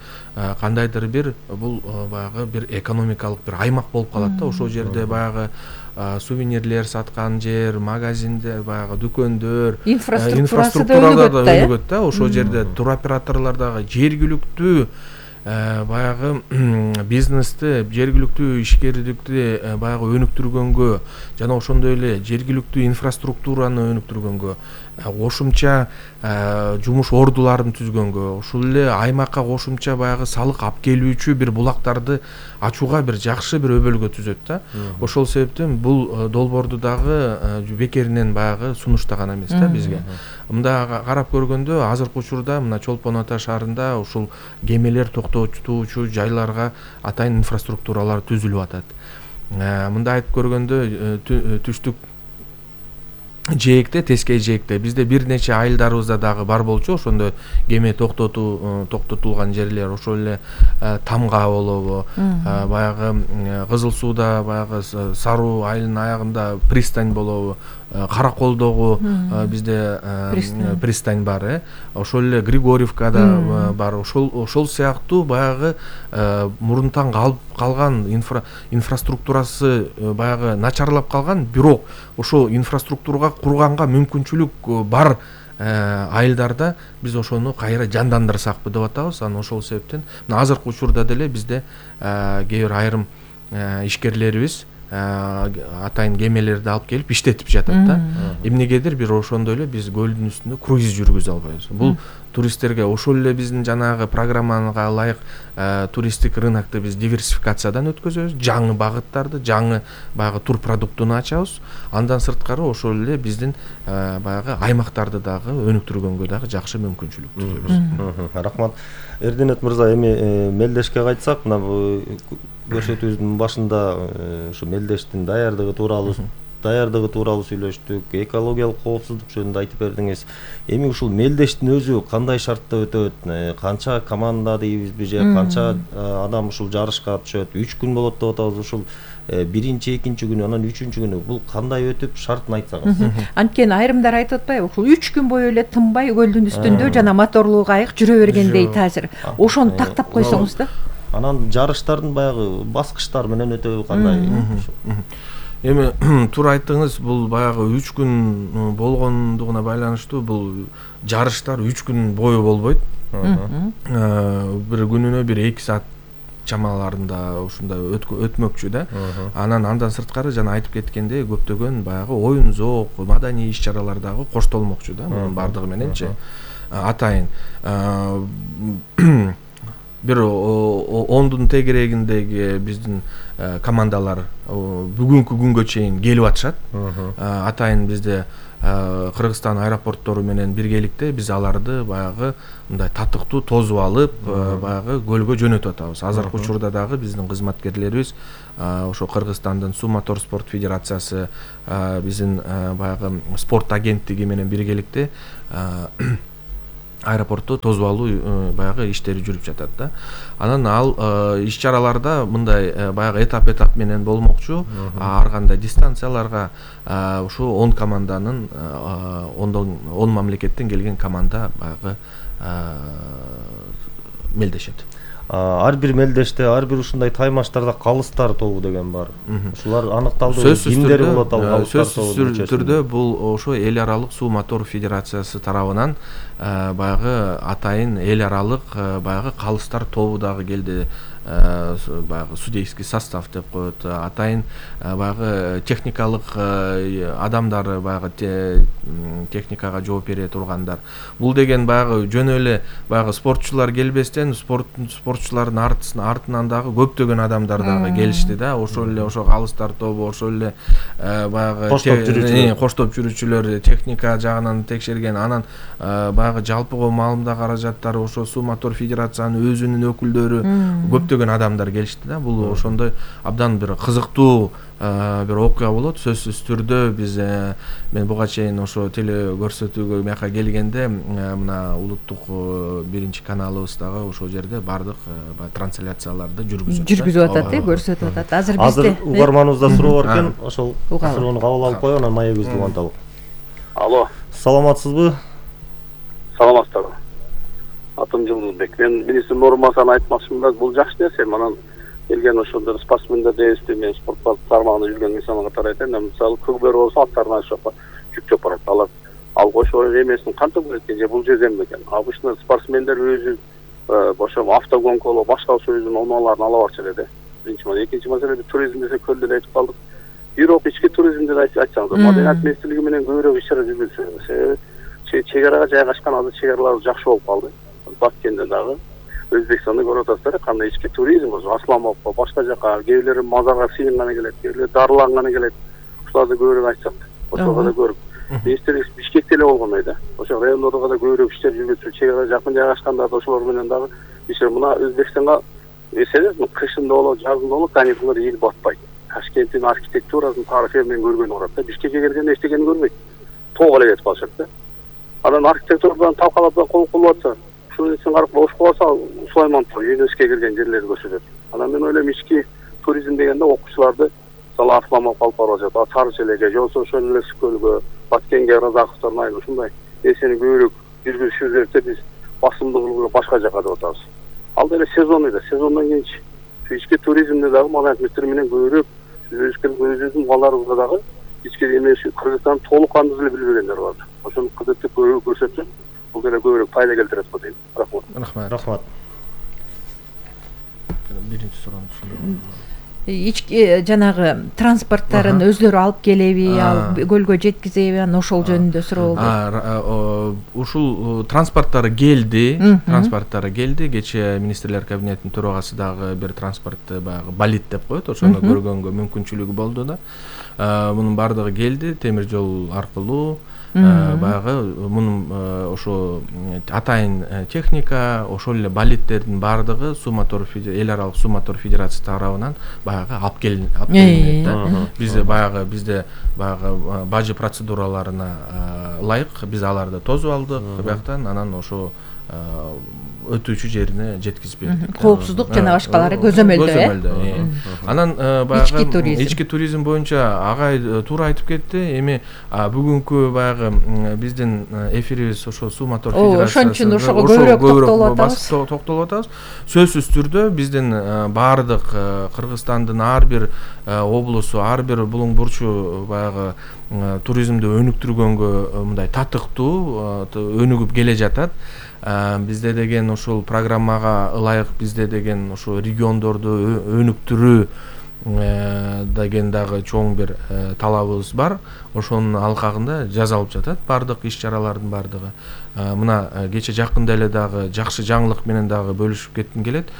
кандайдыр бир бул баягы бир экономикалык бир аймак болуп калат да. Ошол жерде баягы сувенирлер саткан жер, магазиндер, баягы дүкөндөр, инфраструктурада да өнүгөт да. Ошол жерде туроператорлор дагы жергиликтүү баягы бизнести, жергиликтүү ишкерликти баягы өнүктүргөнгө жана ошондой эле жергиликтүү инфраструктураны өнүктүргөнгө, кошумча жумуш ордуларын түзгөнгө, ушул эле аймакка кошумча баягы салык алып келүүчү бир булактарды ачууга бир жакшы бир өбөлгө түзөт да. Ошол себептен бул долбоорду дагы бекеринен баягы сунуштаган эмес да бизге. Мында карап көргөндө азыркы учурда мына Чолпон Ата шаарында ушул кемелер токтотуучу жайларга атайын инфраструктуралар түзүлүп атат. Мында айтып көргөндө түштүк жээкте, Тескей жээкте бизде бир нече айылдарыбызда дагы бар болчу ошондой кеме токтотулган жерлер. Ошол эле Тамга болобу, баягы Кызыл сууда баягы Саруу айылынын аягында пристань болобу, Караколдогу бизде пристань бар, ошол эле Григорьевкада бар. Ошол сыяктуу баягы мурунтан калган инфраструктурасы баягы начарлап калган, бирок ошол инфраструктурага курганга мүмкүнчүлүк бар айылдарда биз ошону кайра жандандырсакпы деп атабыз. Анан ошол себептен азыркы учурда деле бизде кээ бир айрым ишкерлерибиз атайын кемелерди алып келип иштетип жатат да. Эмнегедир бир ошондой эле биз көлдүн үстүндө круиз жүргүзө албайбыз. Бул туристтерге ошол эле биздин жанагы программага ылайык туристтик рынокто биз диверсификациядан өткөзөбүз, жаңы багыттарды, жаңы баягы тур продуктуну ачабыз. Андан сырткары ошол эле биздин баягы аймактарды дагы өнүктүргөнгө дагы жакшы мүмкүнчүлүк түзөбүз. Рахмат. Эрденет мырза, эми мелдешке кайтсак, мына көрсөтүүбүздүн башында ушу мелдештин даярдыгы тууралуу сүйлөштүк, экологиялык коопсуздук жөнүндө айтып бердиңиз. Эми ушул мелдештин өзү кандай шартта өтөт? Канча команда дейбизби же канча адам ушул жарышка түшөт? 3 күн болот деп атабыз. Ушул биринчи, экинчи күнү, анан үчүнчү күнү бул кандай өтүп, шартын айтсаңыз. Анткени айрымдар айтып атпайбы, ушул 3 күн бою эле тынбай көлдүн үстүндө жана моторлуу кайык жүрө берген дейт азыр. Ошону тактап койсоңуз да. Анан жарыштардын баягы баскычтары менен өтөбү кандай? Эми туура айттыңыз, бул баягы 3 күн болгондугуна байланыштуу бул жарыштар 3 күн бою болбойт. Бир күнүнө 1-2 саат чамаларында ушундай өтмөкчү да. Андан сырткары жана айтып кеткендей көптөгөн баягы оюн зоок, маданий иш-чаралар дагы коштолмокчу да. Мунун бардыгы мененчи атайын бир 10-дун тегерегиндеги биздин командалар бүгүнкү күнгө чейин келип атышат. Атайын бизде Кыргызстан аэропорттору менен биргеликте биз аларды баягы мындай татыктуу тосуп алып, баягы көлгө жөнөтүп атабыз. Азыркы учурда дагы биздин кызматкерлерибиз ошо Кыргызстандын Суу мотор спорт федерациясы, биздин баягы спорт агенттиги менен биргеликте аэропортто тосуп алуу баягы иштери жүрүп жатат да. Анан ал иш-чараларда мындай баягы этап менен болмокчу. Ар кандай дистанцияларга ушу 10 команданын 10 мамлекеттен келген команда баягы мелдешет. Ар бир мелдеште, ар бир ушундай таймаштарда калыстар тобу деген бар. Ушулар аныкталды. Кимдери болот ал калыстар тобу? Сөзсүз түрдө бул ошо эл аралык суу мотор федерациясы тарабынан баягы атайын эл аралык баягы калыстар тобу дагы келди. Баягы судейский состав деп коет. Атайын баягы техникалык адамдары, баягы техникага жооп бере тургандар. Бул деген баягы жөн эле баягы спортчулар келбестен спортчулардын артынан дагы көптөгөн адамдар дагы келишти да. Ошол эле ошо калыстар тобу, ошол эле баягы коштоп жүрүүчүлөр техника жагынан текшерген. Анан баягы жалпыга маалымда каражаттары ошо Суу мотор федерациянын өзүнүн өкүлдөрү көптөгөн адамдар келишти да. Бул ошондой абдан бир кызыктуу бир окуя болот. Сөзсүз түрдө биз мен буга чейин ошо теле көрсөтүүгө мияка келгенде мына улуттук биринчи каналыбыз дагы ошол жерде бардык трансляцияларды жүргүзүп атат, көрсөтүп атат. Азыр угарманыбызда суроо бар экен, ошол суроону кабыл алып коелу, анан маегибизди уланталы. Алло. Саламатсызбы? Саламатсызбы. Атым Жылдызбек. Мен министрдин орун басарына айтмакчымын, бул жакшы нерсе. Манан келген ошондор спортсмендер дейбизби, мен спорт тармагында жүргөн инсан катары айтайын. Мисалы көбөлөр болсо аттарына жүк жоп барат. Алар ошо эмесин кантип экен же бул жерден бекен. Обычно спортсмендер өзү ошо автогонка болуп башка өзүнүн оңолорун ала барчу эле. Биринчи маселе, экинчи маселе туризм десе көлдө айтып калдык. Бирок ички туризмди айтсаңыз, Маданият министрлиги менен көбүрөөк иш-чара жүргүзсө, чек арага жайгашкан азыр чек аралар жакшы болуп калды. Баткенде дагы Өзбекстанда көрүп атасыздар, кандай ички туризм болсо, Асламовко, башка жака, кээ бирлери мазарга сыйынганы келет, кээ бирлери дарыланганы келет. Ушуларды көбүрөөк айтсак, ошого да көрүп. Министрлик Бишкекте эле болгондой да. Ошо райондорго да көбүрөөк иштер жүргүзүп, чек ара жакын жайгашканда да ошолор менен дагы иштер. Мына Өзбекстанга эсеңизби, кышында болобу, жазында болобу каникулдар ийип батпайт. Ташкенттин архитектурасын, тарыхын мен көргөнү урат да. Бишкекке келгенде эчтекени көрбөйт. Тоого эле кетип калышат да. Анан архитектурадан талкалап кол кылып атса, ушунун ичин карап ошко барса, Сулаймонов ЮНЕСКО кирген жерлерди көрсөтөт. Анан мен ойлойм, ички туризм дегенде окуучуларды мисалы Асламов алып барып атат, Сары Челекке, же болбосо ошол эле Көлгө, Баткенге, Разаковдордун айыл ушундай нерсени көбүрөөк жүргүзүшүбүз керек деп биз басымдуулугу башка жака деп атабыз. Ал деле сезон эле, сезондон кийинчи ички туризмде дагы Маданият министри менен көбүрөөк өзүбүздүн балдарыбызга дагы ички эмес Кыргызстан толук кандуу эле билбегендер бар. Ошону кызыктып көбүрөөк көрсөтсө, бул деле көбүрөөк пайда келтирет го дейм. Рахмат. Рахмат. Биринчи суроону түшүндүм. ички жанагы транспорттарын өздөрү алып келеби, алып көлгө жеткизеби, анан ошол жөнүндө суроо болду. Ушул транспорттары келди, кечээ министрлер кабинетинин төрагасы дагы бир транспортты баягы болит деп коет, ошону көргөнгө мүмкүнчүлүгү болду да. Мунун баардыгы келди темир жол аркылуу. Баягы мунун ошо атайын техника, ошол эле болиттердин баардыгы эл аралык суу мотор федерациясы тарабынан баягы алып келинет да. Бизде баягы бажы процедураларына ылайык биз аларды тосуп алдык бияктан, анан ошо өтүүчү жерине жеткизип бердик. Коопсуздук жана башкалары көзөмөлдө. Анан баягы ички туризм боюнча агай туура айтып кетти. Эми бүгүнкү баягы биздин эфирибиз ошо суу мотор федерациясы. Ошон үчүн ошого көбүрөөк токтолуп атабыз. Сөзсүз түрдө биздин баардык Кыргызстандын ар бир облусу, ар бир булуң бурчу баягы туризмди өнүктүргөнгө мындай татыктуу өнүгүп келе жатат. Бизде деген ушул программага ылайык бизде деген ушу региондорду өнүктүрүү деген дагы чоң бир талабыбыз бар. Ошонун алкагында жасалып жатат баардык иш-чаралардын баардыгы. Мына кече жакында эле дагы жакшы жаңылык менен дагы бөлүшүп кетким келет.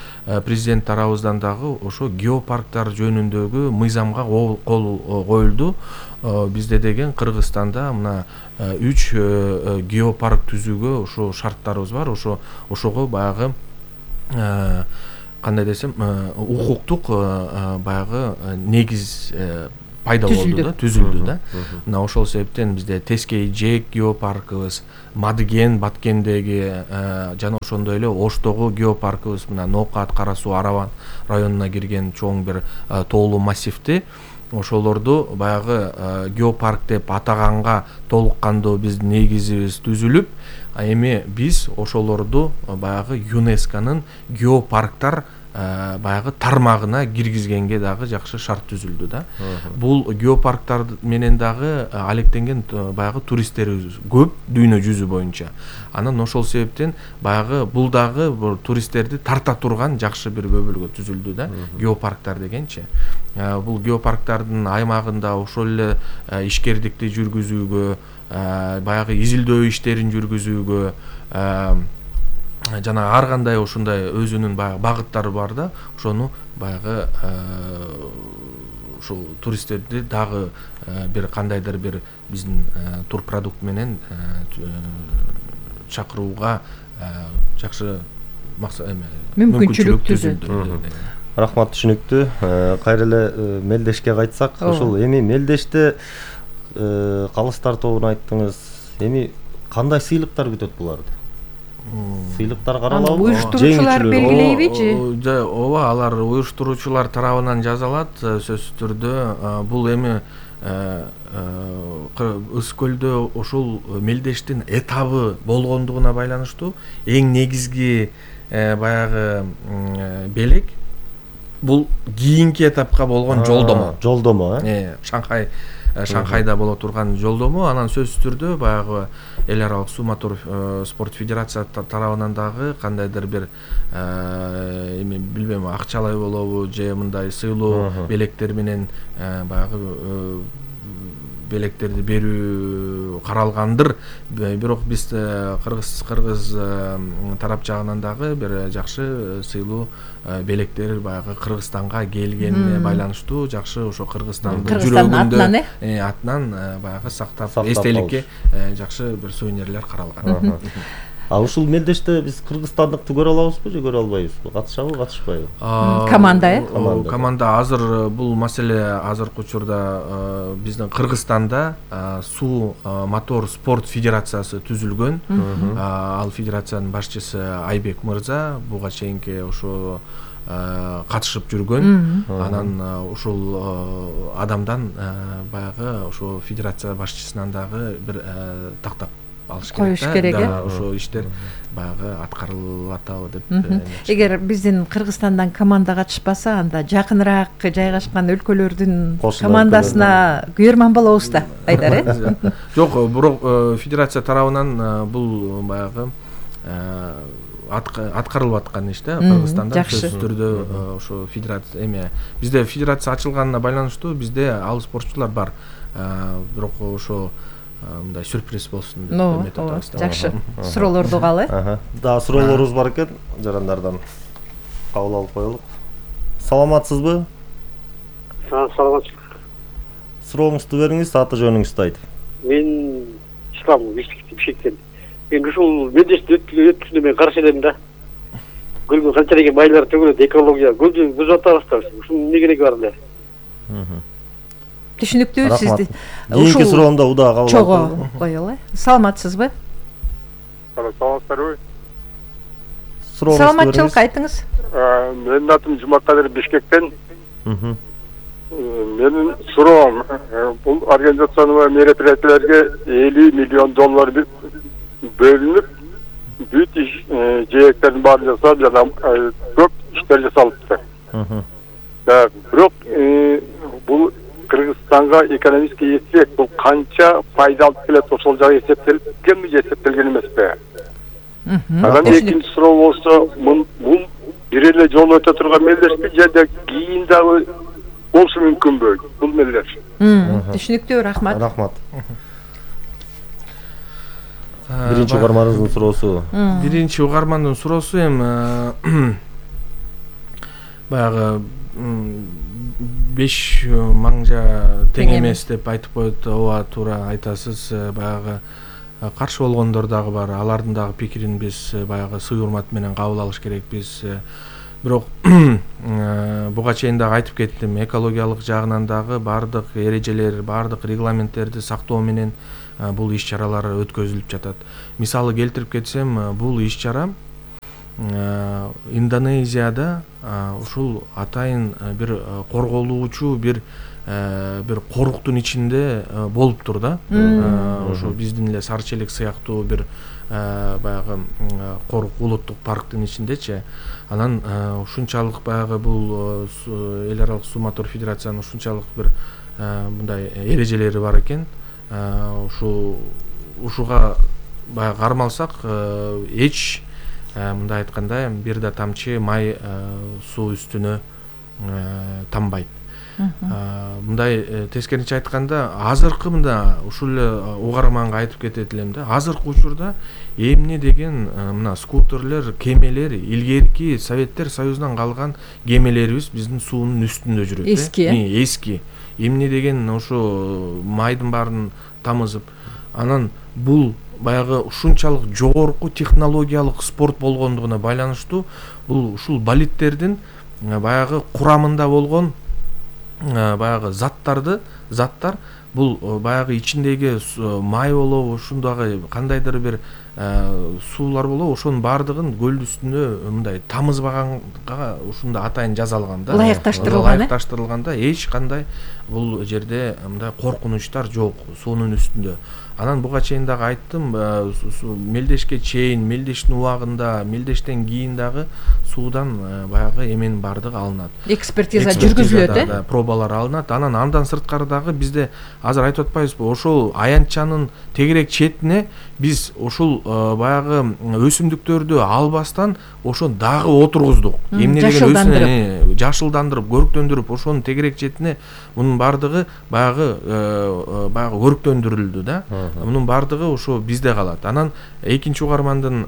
Президент тарабыбыздан дагы ошо геопарктар жөнүндөгү мыйзамга кол коюлду. Бизде деген Кыргызстанда мына 3 геопарк түзүүгө ошо шарттарыбыз бар. Ошого баягы кандай десем, укуктук баягы негиз пайда болду да, түзүлдү да. Мына ошол себептен бизде Тескей Жээк геопаркыбыз, Мадыген Баткендеги жана ошондой эле Оштогу геопаркыбыз, мына Ноокат, Кара Суу, Араван районуна кирген чоң бир тоолуу массивти. Ошолорду баягы геопарк деп атаганга толук кандуу биздин негизибиз түзүлүп, эми биз ошолорду баягы ЮНЕСКОнун геопарктар баягы тармагына киргизгенге дагы жакшы шарт түзүлдү да. Бул геопарктар менен дагы алектенген баягы туристтерибиз көп дүйнө жүзү боюнча. Анан ошол себептен баягы бул дагы туристтерди тарта турган жакшы бир көбөлгө түзүлдү да, геопарктар дегенчи. Бул геопарктардын аймагында ошол эле ишкердикти жүргүзүүгө, баягы изилдөө иштерин жүргүзүүгө, жана ар кандай ушундай өзүнүн баягы багыттары бар да, ошону баягы ушул туристтерди дагы бир кандайдыр бир биздин турпродукт менен чакырууга жакшы мүмкүнчүлүк түзүлдү. Рахмат, түшүнүктүү. Кайра эле мелдешке кайтсак, ошол эми мелдеште калыстар тобун айттыңыз. Эми кандай сыйлыктар күтөт буларды? Сыйлыктар каралабы? Уюштуруучулар белгилейбичи? Ооба, алар уюштуруучулар тарабынан жазалат сөзсүз түрдө. Бул эми Ысык-Көлдө ушул мелдештин этабы болгондугуна байланыштуу эң негизги баягы белек бул кийинки этапка болгон жолдомо. Шанхайда боло турган жолдому. Анан сөзсүз түрдө баягы эл аралык суу мотор спорт федерациясы тарабынан дагы кандайдыр бир эми билбейм, акчалай болобу же мындай сыйлоо белектер менен баягы белектерди берүү каралгандыр. Бирок биз кыргыз тарап жагынан дагы бир жакшы сыйлуу белектер баягы Кыргызстанга келгенине байланыштуу жакшы ошо Кыргызстандын жүрөгүндө атынан баягы сактап эстеликке жакшы бир сувенирлер каралган. Ушул мелдеште биз кыргызстандыкты көрө алабызбы же көрө албайбызбы? Катышабы, катышпайбы? Команда азыр бул маселе азыркы учурда биздин Кыргызстанда суу мотор спорт федерациясы түзүлгөн. Ал федерациянын башчысы Айбек мырза буга чейинки ошо катышып жүргөн. Анан ушул адамдан баягы ошо федерация башчысынан дагы бир тактап алыш керек да. Ошо иштер баягы аткарылып атабы деп. Эгер биздин Кыргызстандан команда катышпаса, анда жакыныраак жайгашкан өлкөлөрдүн командасына күйөрман болобуз да, Айдар, Жок, бирок федерация тарабынан бул баягы аткарылып аткан иш да Кыргызстанда жакшы. сөзсүз түрдө ошо федерация эме бизде федерация ачылганына байланыштуу бизде ал спортчулар бар, бирок ошо мындай сюрприз болсун деп эметип атабыз да. Жакшы. Суроолорду угалы. Дагы суроолорубуз бар экен, жарандардан кабыл алып коелук. Саламатсызбы? Саламатсыз. Сурооңузду бериңиз, аты жөнүңүздү айтып. Мен Ислам Бишкектен. Мен ушул мендешти өткөндө мен каршы элем да. Көлгө канчалык майлар төгүлөт, экология көлдү бузуп атабыз да. Ушул эмне кереги бар эле? Түшүнүктүү сизди. Кийинки суроомду удаа кабыл чогуу алып коелу. Саламатсызбы? Саламатсызбы? Саламатчылык айтыңыз. Менин атым Жумакадыр Бишкектен. Менин суроом, бул организациялуу мероприятияларга $50 миллион бөлүнүп, бүт жээктердин баарын жасап, жана көп иштер жасалыпты. Бирок бул Кыргызстанга экономический эффект бул канча пайда алып келет, ошол жагы эсептелгенби же эсептелген эмеспи? Анан экинчи суроо болсо, бул бир эле жолу өтө турган мелдешпи же кийин дагы болушу мүмкүнбү бул мелдеш? Түшүнүктүү, рахмат. Рахмат. Биринчи угармандын суроосу. Биринчи угармандын суроосу эми баягы 5 маңжа тең эмес деп айтып коет. Ооба, туура айтасыз. Баягы каршы болгондор дагы бар. Алардын дагы пикирин биз баягы сый урмат менен кабыл алыш керекпиз. Бирок буга чейин дагы айтып кеттим, экологиялык жагынан дагы баардык эрежелер, баардык регламенттерди сактоо менен бул иш-чаралар өткөзүлүп жатат. Мисалы келтирип кетсем, бул иш-чара Индонезияда ушул атайын бир корголуучу бир коруктун ичинде болуптур да. Ошо биздин эле Сары Челек сыяктуу бир баягы корук улуттук парктын ичиндечи. Анан ушунчалык баягы бул эл аралык суу мотор федерациянын ушунчалык бир мындай эрежелери бар экен. Ушуга баягы кармалсак эч мындай айтканда бир да тамчы май суу үстүнө тамбайт. Мындай тескеринче айтканда, азыркы мында ушул эле угарманга айтып кетет элем да. Азыркы учурда эмне деген мына скутерлер, кемелер, илгерки Советтер Союзунан калган кемелерибиз биздин суунун үстүндө жүрөт. Эски. Эмне деген ошо майдын баарын тамызып, анан бул баягы ушунчалык жогорку технологиялык спорт болгондугуна байланыштуу бул ушул болидтердин баягы курамында болгон баягы заттар бул баягы ичиндеги май болобу, ушундагы кандайдыр бир суулар болобу, ошонун баардыгын көлдүн үстүнө мындай тамызбаганга ушунда атайын жазалган да. Ылайыкташтырылганда эч кандай бул жерде мындай коркунучтар жок суунун үстүндө. Анан буга чейин дагы айттым, мелдешке чейин, мелдештин убагында, мелдештен кийин дагы суудан баягы эменин баардыгы алынат. Экспертиза жүргүзүлөт, пробалар алынат. Анан сырткары дагы бизде азыр айтып атпайбызбы, ошол аянтчанын тегерек четине биз ошол баягы өсүмдүктөрдү албастан ошону дагы отургуздук. Эмне деген жашылдандырып, көрктөндүрүп, ошонун тегерек четине мунун баардыгы баягы көрктөндүрүлдү да. Мунун баардыгы ошо бизде калат. Анан экинчи угармандын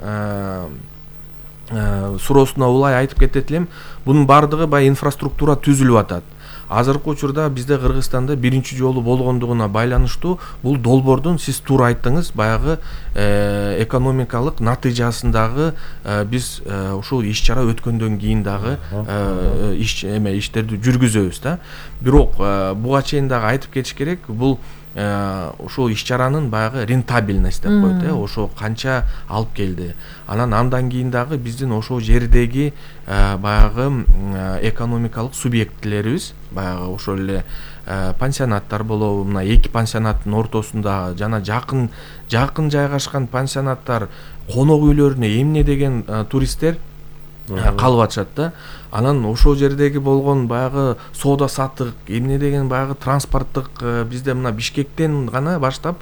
суроосуна улай айтып кетет элем, бунун баардыгы баягы инфраструктура түзүлүп атат. Азыркы учурда бизде Кыргызстанда биринчи жолу болгондугуна байланыштуу бул долбоордун сиз туура айттыңыз, баягы экономикалык натыйжасындагы биз ушул иш-чара өткөндөн кийин дагы иштерди жүргүзөбүз да. Бирок буга чейин дагы айтып кетиш керек, бул ошол иш-чаранын баягы рентабельность деп коет, ошо канча алып келди. Андан кийин дагы биздин ошол жердеги баягы экономикалык субъектлерибиз, баягы ошол эле пансионаттар болобу, мына 2 пансионаттын ортосунда жана жакын жайгашкан пансионаттар, конок үйлөрүнө эмне деген туристтер калып атышат да. Анан ошол жердеги болгон баягы соода саттык, эмне деген баягы транспорттук бизде мына Бишкектен гана баштап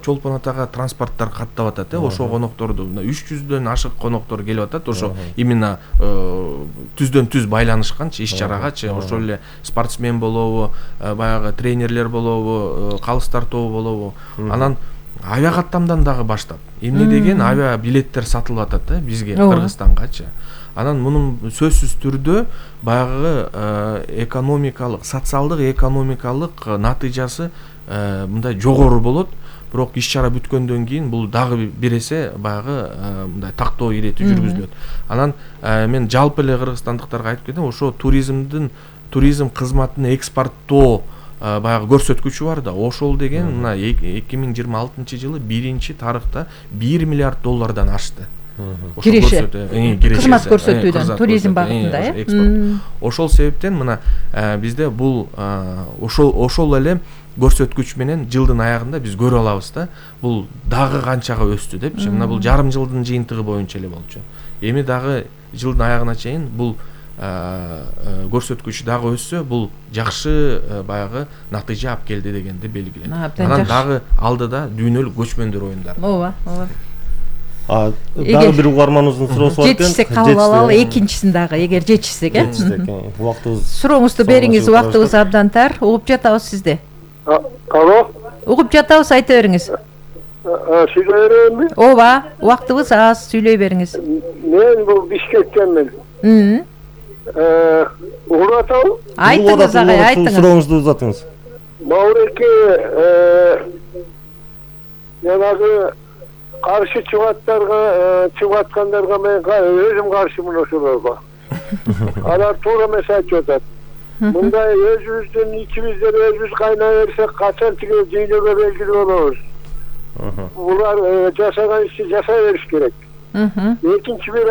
Чолпон атага транспорттор каттап атат, ошо конокторду 300дөн ашык коноктор келип атат, ошо именно түздөн түз байланышканчы иш чарагачы, ошол эле спортсмен болобу, баягы тренерлер болобу, калыс тартуу болобу. Анан авиа каттамдан дагы баштап эмне деген авиа билеттер сатылып атат бизге, Кыргызстангачы. Анан мунун сөзсүз түрдө баягы экономикалык, социалдык экономикалык натыйжасы мындай жогору болот. Бирок иш чара бүткөндөн кийин бул дагы бир эсе баягы мындай тактоо ирети жүргүзүлөт. Анан мен жалпы эле кыргызстандыктарга айтып кетем, ошо туризм кызматын экспорттоо баягы көрсөткүчү бар да. Ошол деген мына 2026-жылы биринчи тарыхта $1 миллиард ашты. Киреше кызмат көрсөтүүдөн туризм багытында. Ошол себептен мына бизде бул ошол эле көрсөткүч менен жылдын аягында биз көрө алабыз да. Бул дагы канчага өстү депчи. Мына бул жарым жылдын жыйынтыгы боюнча эле болчу. Эми дагы жылдын аягына чейин бул көрсөткүч дагы өссө, бул жакшы баягы натыйжа алып келди дегенди белгиленет. Анан дагы алдыда дүйнөлүк көчмөндөр оюндары. Ооба. Дагы бир угарманыбыздын суроосу бар экен. Жетишсек кабыл алалы, экинчисин дагы эгер жетишсек, Убактыбыз. Сурооңузду бериңиз, убактыбыз абдан тар. Угуп жатабыз сизди. Алло. Угуп жатабыз, айта бериңиз. Сүйлөй берейинби? Ооба, убактыбыз аз, сүйлөй бериңиз. Мен бул Бишкектенмин. Угуп атабы? Айтыңыз агай, айтыңыз. Сурооңузду узатыңыз. Мауреке жанагы каршы чыгып аткандарга мен өзүм каршымын ошолорго. Алар туура эмес айтып атат. Мындай өзүбүздүн ичибизден өзүбүз кайнай берсек качан тиги дүйнөгө белгилүү болобуз. Булар жасаган ишти жасай бериш керек. Экинчи бир